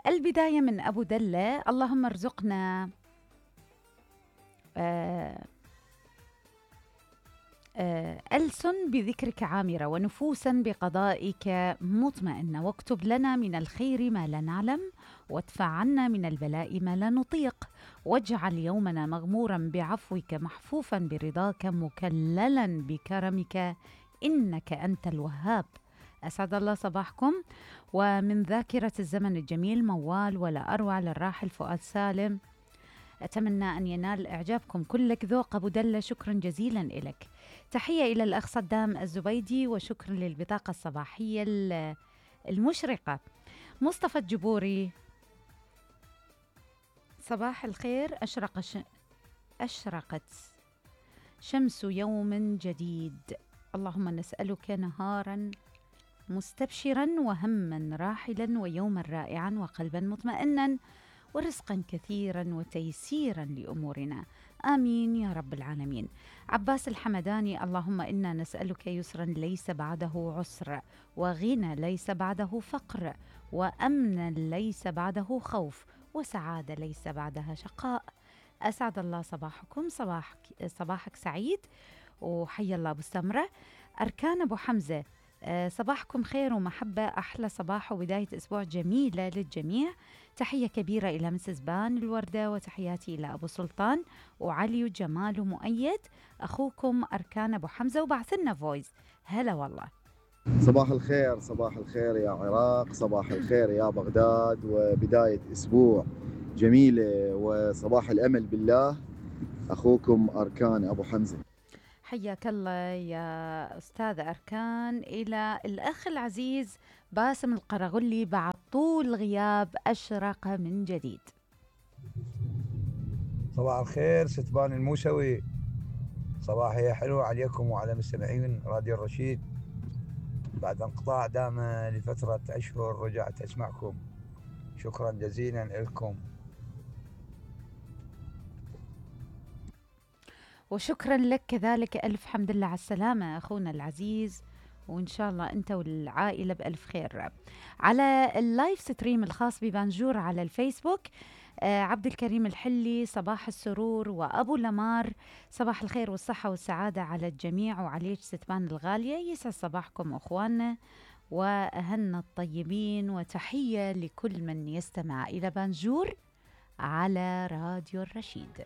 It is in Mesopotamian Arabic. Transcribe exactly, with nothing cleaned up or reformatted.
البداية من أبو دلة. اللهم ارزقنا آه آه ألسن بذكرك عامرة ونفوسا بقضائك مطمئنة، واكتب لنا من الخير ما لا نعلم، وادفع عنا من البلاء ما لا نطيق، واجعل يومنا مغمورا بعفوك محفوفا برضاك مكللا بكرمك إنك أنت الوهاب. أسعد الله صباحكم. ومن ذاكرة الزمن الجميل موال ولا أروع للراحل فؤاد سالم، أتمنى أن ينال إعجابكم كلك ذوق أبو دلة. شكرا جزيلا إلك. تحية إلى الأخ صدام الزبيدي، وشكرا للبطاقة الصباحية المشرقة. مصطفى الجبوري، صباح الخير. أشرق ش... أشرقت شمس يوم جديد، اللهم نسألك نهارا مستبشرا وهما راحلا ويوما رائعا وقلبا مطمئنا ورزقا كثيرا وتيسيرا لأمورنا، آمين يا رب العالمين. عباس الحمداني، اللهم إنا نسألك يسرا ليس بعده عسر، وغنى ليس بعده فقر، وأمنا ليس بعده خوف، وسعادة ليس بعدها شقاء. أسعد الله صباحكم. صباحك صباحك سعيد، وحي الله أبو سمرة. أركان أبو حمزة، صباحكم خير ومحبة، أحلى صباح وبداية أسبوع جميلة للجميع. تحية كبيرة إلى مسز بان الوردة، وتحياتي إلى أبو سلطان وعلي وجمال ومؤيد. أخوكم أركان أبو حمزة، وبعثلنا فويس. هلا والله. صباح الخير، صباح الخير يا عراق، صباح الخير يا بغداد، وبداية أسبوع جميلة وصباح الأمل بالله. أخوكم أركان أبو حمزة. حياك الله يا أستاذ أركان. إلى الأخ العزيز باسم القرغلي، بعد طول غياب أشرق من جديد. صباح الخير ستبان الموسوي، صباحية حلوة عليكم وعلى مستمعين راديو الرشيد. بعد انقطاع دام لفترة أشهر رجعت أسمعكم، شكرا جزيلا لكم. وشكرا لك كذلك، ألف حمد لله على السلامة أخونا العزيز، وإن شاء الله أنت والعائلة بألف خير. على اللايف ستريم الخاص ببانجور على الفيسبوك، آه عبد الكريم الحلي، صباح السرور، وأبو لمار، صباح الخير والصحة والسعادة على الجميع وعليك ستبان الغالية. يسعد صباحكم أخواننا وأهلنا الطيبين، وتحية لكل من يستمع إلى بانجور على راديو الرشيد.